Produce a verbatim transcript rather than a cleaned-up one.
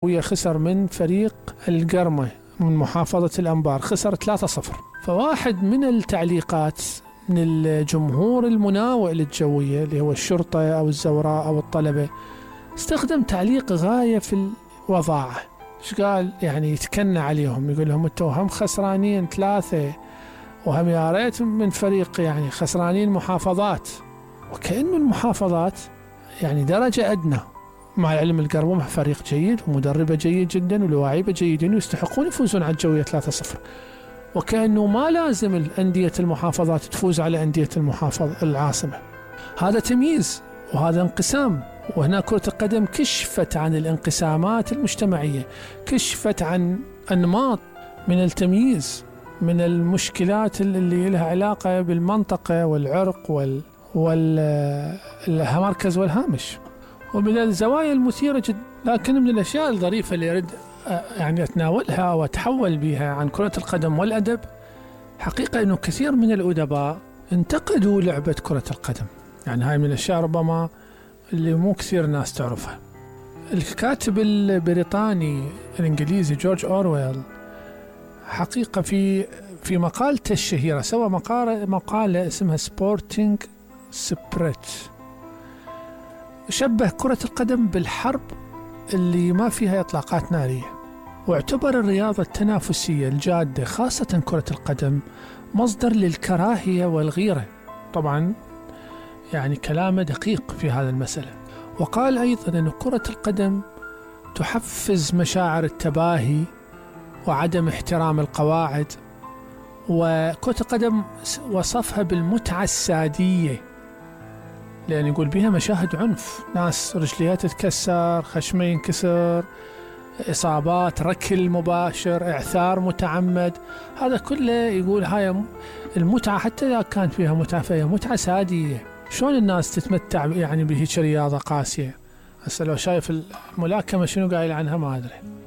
خسر من فريق القرمة من محافظة الأنبار، خسر ثلاثة صفر. فواحد من التعليقات من الجمهور المناوئ للجوية اللي هو الشرطة أو الزوراء أو الطلبة استخدم تعليق غاية في الوضاعة. ايش قال؟ يعني يتكنى عليهم، يقول لهم انتوا هم خسرانين ثلاثة وهم يا ريت من فريق يعني خسرانين محافظات، وكأنه المحافظات يعني درجة أدنى، مع العلم القرمة فريق جيد ومدربة جيد جدا ولواعيبة جيدين ويستحقون يفوزون على الجوية ثلاثة صفر، وكأنه ما لازم الأندية المحافظات تفوز على أندية المحافظة العاصمة. هذا تمييز وهذا انقسام. وهنا كرة القدم كشفت عن الانقسامات المجتمعية، كشفت عن أنماط من التمييز، من المشكلات اللي لها علاقة بالمنطقة والعرق وال والمركز والهامش، ومن الزوايا المثيرة جدا. لكن من الأشياء الظريفة اللي أريد يعني أتناولها وأتحول بها عن كرة القدم والأدب، حقيقة أنه كثير من الأدباء انتقدوا لعبة كرة القدم. يعني هاي من الأشياء ربما اللي مو كثير ناس تعرفها. الكاتب البريطاني الإنجليزي جورج أورويل حقيقة في في مقالته الشهيرة سوى مقالة, مقالة اسمها سبورتينج سبريت، شبه كرة القدم بالحرب اللي ما فيها إطلاقات نارية، واعتبر الرياضة التنافسية الجادة خاصة كرة القدم مصدر للكراهية والغيرة. طبعا يعني كلامه دقيق في هذا المسألة. وقال أيضا أن كرة القدم تحفز مشاعر التباهي وعدم احترام القواعد، وكرة القدم وصفها بالمتعة السادية، لأن يقول بها مشاهد عنف، ناس رجليها تتكسر، خشمه ينكسر، إصابات، ركل مباشر، إعثار متعمد، هذا كله يقول هاي المتعة. حتى إذا كان فيها متعة فهي متعة سادية. شلون الناس تتمتع يعني بهيك رياضة قاسية؟ هسه لو شايف الملاكمة شنو قايل عنها ما أدري.